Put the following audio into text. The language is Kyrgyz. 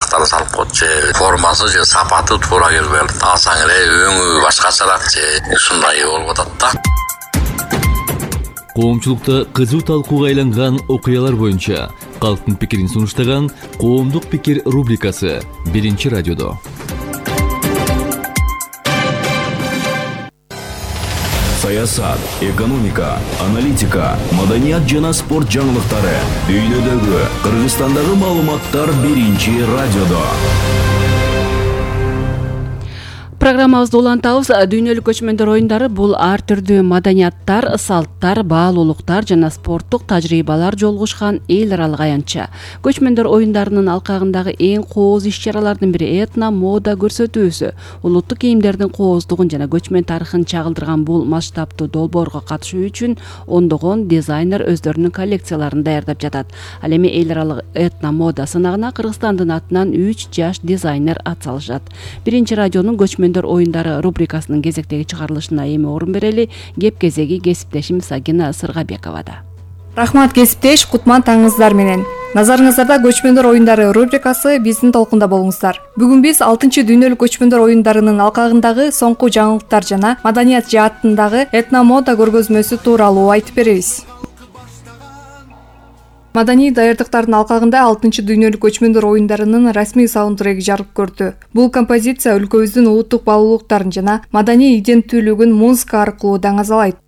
жактарын салып коет же формасы же сапаты туура келбей алсаң эле өңү башкачараак же ушундай болуп атат да. Коомчулукта кызуу талкууга айланган окуялар боюнча калктын пикирин сунуштаган Коомдук пикир рубрикасы Биринчи радиодо. Саясат, экономика, аналитика, маданият жана спорт жаңылыктары, дүйнөдөгү, Кыргызстандагы маалыматтар Биринчи радиодо. Программабызды улантабыз. Дүйнөлүк көчмөндөр оюндары бул ар түрдүү маданияттар, салттар, баалуулуктар жана спорттук тажрыйбалар жолугушкан эл аралык аянтча. Көчмөндөр оюндарынын алкагындагы эң кооз иш-чаралардын бири этно мода көрсөтүүсү. Улуттук кийимдердин кооздугун жана көчмөн тарыхын чагылдырган бул масштабтуу долбоорго катышуу үчүн ондогон дизайнер өздөрүнүн коллекцияларын даярдап жатат. Ал эми эл аралык этно мода сынагына Кыргызстандын атынан 3 жаш дизайнер атсалышат. Биринчи радионун көчмөн оюндары рубрикасынын кезектеги чыгарылышына эми орун берели. Кеп кезеги кесиптешим Сагина Сыргабековада. Рахмат кесиптеш, кутман таңыңыздар менен. Назарыңыздарда көчмөндөр оюндары рубрикасы, биздин толкунда болуңуздар. Бүгүн биз 6-чы дүйнөлүк көчмөндөр оюндарынын алкагындагы соңку жаңылыктар жана маданият жаатындагы этномода көргөзмөсү тууралуу айтып беребиз. Маданий даярдыктардын алкагында 6-чы дүйнөлүк көчмөндөр оюндарынын расмий саундтреги жарык көрдү. Бул композиция өлкөбүздүн улуттук баалуулуктарын жана маданий иденттүүлүгүн музыка аркылуу даңазалайт.